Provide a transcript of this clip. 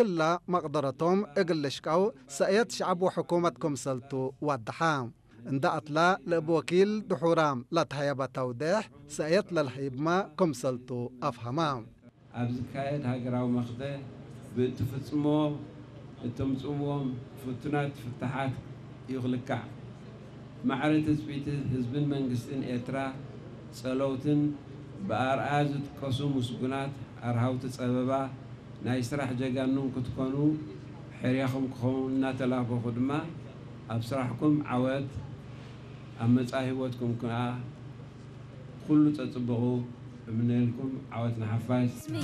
ክላ መቕደረቶም እግል ልሽቃው ሰእየት ሸዕብ ወሕኩመት ክምሰልቱ ዋድሓ። እንዳ ኣትላ ለእብ ወኪል ድሑራም ላተሃያባ ተውድሕ ሰእየት ለልሃይብማ ክምሰልቱ ኣፍሃማ። ኣብ ዝካየድ ሃገራዊ መኽተ ብእትፍጽሞ እተምጽእዎም ፍቱናት ፍታሓት እዩ ክልካዕ። ማዕረ ትጽቢት ህዝብን መንግስትን ኤርትራ ጸለውትን ብኣርኣያ ዝጥቀሱ ምስጉናት ኣርሃውቲ ጸበባ ናይ ስራሕ ጀጋኑን ክትኮኑ ሕርያኹም ክኸውን እናተላበኹ ድማ ኣብ ስራሕኩም ዓወት ኣብ መጻኢ ህይወትኩም ከኣ ኩሉ ጸጽብቑ እምነልኩም። ዓወት ንሓፋሽ።